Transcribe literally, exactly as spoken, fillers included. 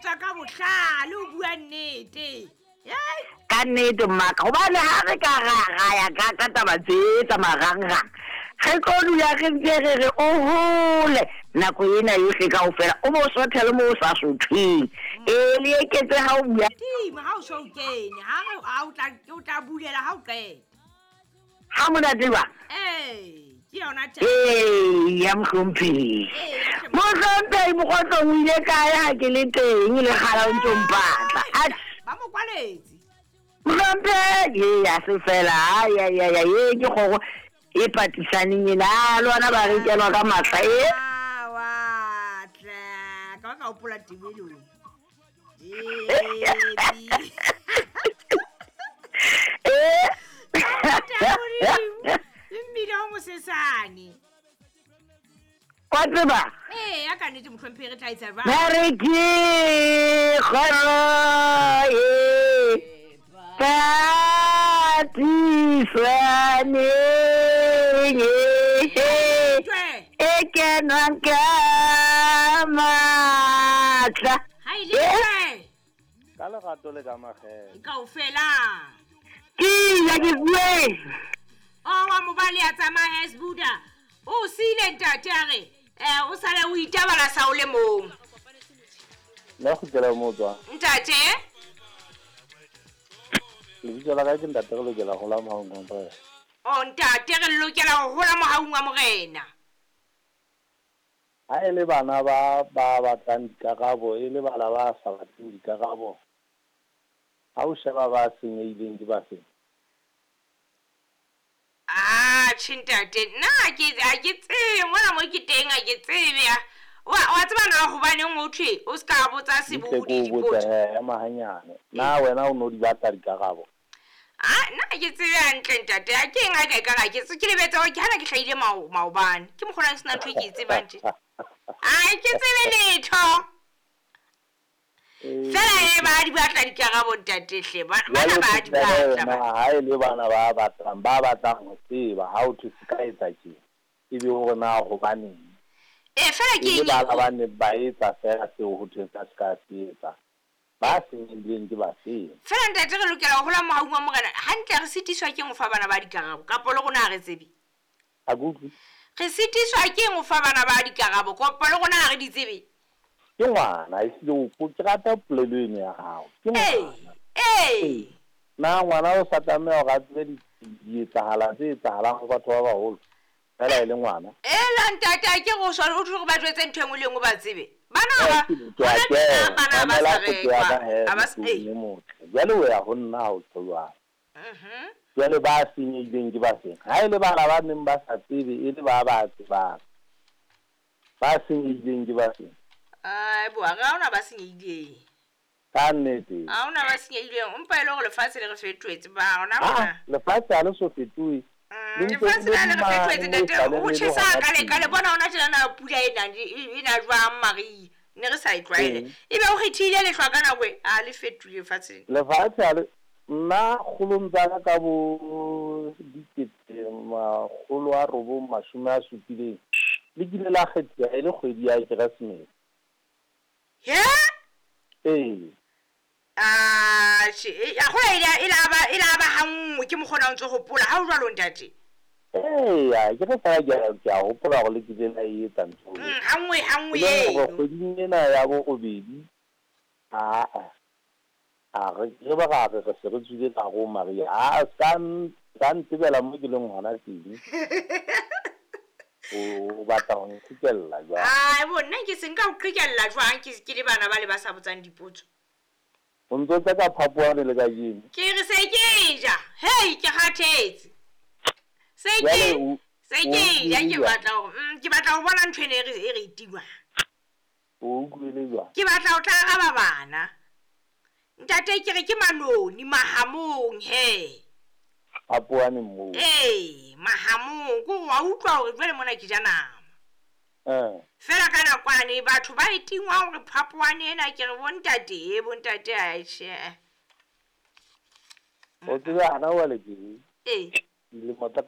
tswa ka bohlale o bua nnete. Hei. Ka nnete mmaka, gobane ga re ka ra ra ya ka ka taba tse tsa marangrang, re tlo dula re ntse re re o hole nako ena yohle kaofela, o bo sothe le mo o sa sothweng. Ee, le eketse ha o bua. Tima ha o so kene, ha re ha o tla o tla bulela ha o qeta. Ha monate ba? Ee, ke yona taba. Ee, ya mohlomphehi. Ee, ya hle- Mohlomphehi Mokgotlong o ile kae ha ke le teng le kgala o ntso mpatla? Atjhe. Ba mo kwaletse. Mohlomphehi, ee, ha se fela. Ai, ai, ai, ai, ee, ke kgoro e patisaneng ena. Ah, le ona ba re kenwa ka matla, ee. Ah, wa tla. Ka ba ka hopola tebelong. Jebi. Ee. Ntate Mmile o mosesane. Wa tseba? Ee, ya ka nnete mohlomphehi re tla etsa jwang? Ba re ke kgoro e patisaneng, Twe. e kenwang ka matla. Ha e le twe. Ka lerato le ka makgethe. Kaofela. Ke ya ke bue. O wa mobali a tsamaya Hesbuda. O siile ntate a re, eh o sale o itabala sa o le mong. Nna kgutlela mo tswang. Ntate? Lebitso la ka ke ntate re lokela ho hola mohaung wa Morena. O ntate re lokela ho hola mohaung wa Morena. Ha e le bana ba ba batlang dikarabo, e le bana ba sa batleng dikarabo. Ha o sheba ba senyehileng ke ba feng? Ah, tjhe ntate, nna ha ke ha ke tsebe mona mo ke teng ha ke tsebe ya. Wa wa tseba na hobaneng ho thwe o ska botsa Butle sebodi ke o botse dipotso? he, ema hanyane. Na wena o no di batla dikarabo? Ah, nna ha ke tsebe hantle ntate. Ha ke eng ha ka ekare ha ke ke lebetse hore ke hana ke hlahile mao maobane. Ke mokgona ke sena ntho e ke e tsebang tje. Ah, ke tsebe letho. Fela e ba di batla dikarabo ntate hle. Ba bana Jwale ba di ke tla batla na ba. ha e le bana ba batlang, ba batlang ho tseba ha o thwe se ka etsa tje. Ebe hore na hobaneng? Eh, fela E ke le eng bana ba neng ba etsa fela seo ho thweng ka se ka se etsa. Ba senyehileng ke ba feng? Fela ntate re lokela ho hola mohaung wa Morena. Hantle re sitiswa ke eng ho fa bana ba dikarabo kapo le rona ha re tsebe? Ha ke utlwe. Re sitiswa ke eng ho fa bana ba dikarabo kapo le rona ha re di tsebe? Ke ngwana, ehlile o po- ke rata polelo eno ya hao. Ke Ee, ngwana. ee. Na ngwana o sa tlameha hore a tsebe di dietsahala tse etsahalang ho batho ba baholo fela e le ngwana? Ela ntate ha ke re o so o thwe re ba jwetse ntho e nngwe le e nngwe ba tsebe. Bana ba Ke a hona tjena kena, bana ba mamela sa potso ya rekwa. ka he, Ha ba s- mohlodi ee. e motle. Jwale o ya ho nna ha o tjho jwalo. Mhm. Jwale ba senyehileng ke ba feng? Ha e le bana ba neng ba sa tsebe, e le ba ba tsebang. Ba senyehileng ke ba feng? Ai bo, ha hona ba senyehileng. Ka nnete. Ha hona ba senyehileng. Empa e le hore lefatshe le re fetohetse ba hona Ah, mona. lefatshe ha le so fetohe. Mm, Le ntse lefatshe le la le re mane fetohetse mo ntate. esale Ho le le tjhesa hona ka le ka le teng. bona hona tjena na pula ena e na jwang mariha. Ne re sa e tlwaele. Ee. Ebe o kgethile lehlwa ka nako e, ha le fetohile lefatshe. Lefatshe ha le nna kgolong tsa ka ka bo dikete makgolo a robong mashome a supileng le kile la kgethiwa e le kgwedi ya Keresemese. He? Ee. Ah, tjhe, e a kgola e la e la ba e la ba ha nngwe ke mokgona o ntso hopola ha o jwalo ntate. Eya, ke re fela ke a ke a hopola hore le kile la e etsa ntho eo. Mm, ha nngwe ha nngwe E leng hore eno. kgweding ena ya borobedi, aa, a re re ba ra re re se re tswile ka hare ho mariha. Aa, se ka ka ntebela mo ke leng hona teng. O batla ho nqhekella jwang? Ai bo nna ke se nka o qhekella jwang ke ke le bana ba le ba sa botsang dipotso. O ntso tsa ka phapohane le kajeno. Ke re se ke ja. Hei, ke kgathetse. Se ke Jwale o se o ke ja ke utlwile jwang? batla hore mm, ke batla ho bona ntho ena e re e re e tingwang. O utlwile jwang? Ke batla ho tla araba bana. Ntate ke re ke manoni mahamong he. Phapohane moo. Ee, mahamong ko wa utlwa hore jwale mona ke ja nama. Eh. Fela ka nakwane batho ba e tingwa hore phapohane ena ke re bontate e bontate a tjhe. O tsebe hana jwale ke Ee. dilemo tsa